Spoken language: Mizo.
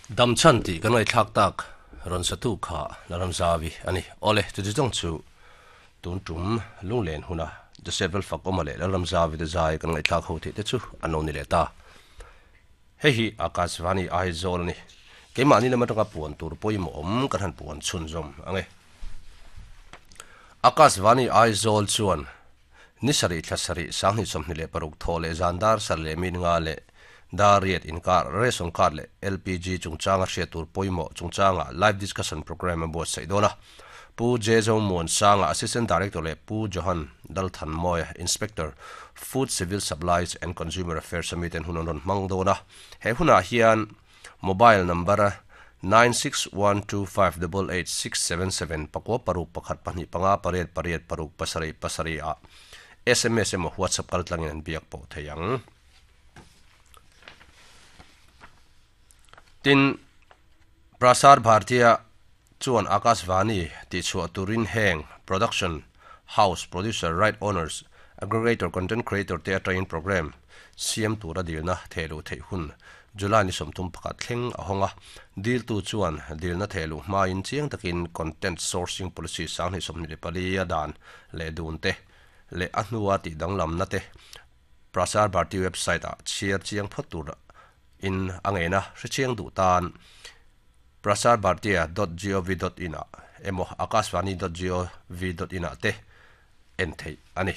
Damchhan tih kan ngaihthlak tak rawn satu kha Laramzavi a ni. Awle, chuti zawng chu tun tum lunglen huna Joseph Lalfakawma leh Lalramzavi te zai kan ngaihthlak ho theih te chu an lo ni leh ta. Hei hi Akashvani Aizawl a ni. Keimahni lam atanga puan tur pawimawh awm kan han puan chhunzawm ang e. Akashvani Aizawl chuan Ni sarih thla sarih 2026 thaw leh zan dar sarih leh min nga leh dar riat inkar ration card leh LPG chungchanga hriat tur pawimawh chungchanga live discussion programme a buatsaih dawn a. Pu Jezo Muansanga Assistant Director leh Pu Johan Dalthanmawia Inspector, Food Civil Supplies and Consumer Affairs a miten hun an rawn hmang dawn a. He hunah hian Mobile number 9612588677 pakua paruk pakhat pahnih panga pariat pariat paruk pasarih pasarih ah sms emaw WhatsApp kal tlangin an biak pawh thei ang. Tin, Prasar Bhartiya chuan Akashvani tihchhuah turin heng production house, producer, right owners, aggregator, content creator te atangin programme siam tura dilna thehluh theih hun July ni 31 thleng a hawng a. Diltu chuan dilna thehluh hmain chiang takin content sourcing policy 2024 a dan leh dun te leh a hnua tih danglamna te Prasar Bharti website ah chhiar chiang phawt tur in a ngen a, hrechiang duh tan prasarbhartiya dot gov dot in ah emaw akashvani dot gov dot in ah te en theih a ni.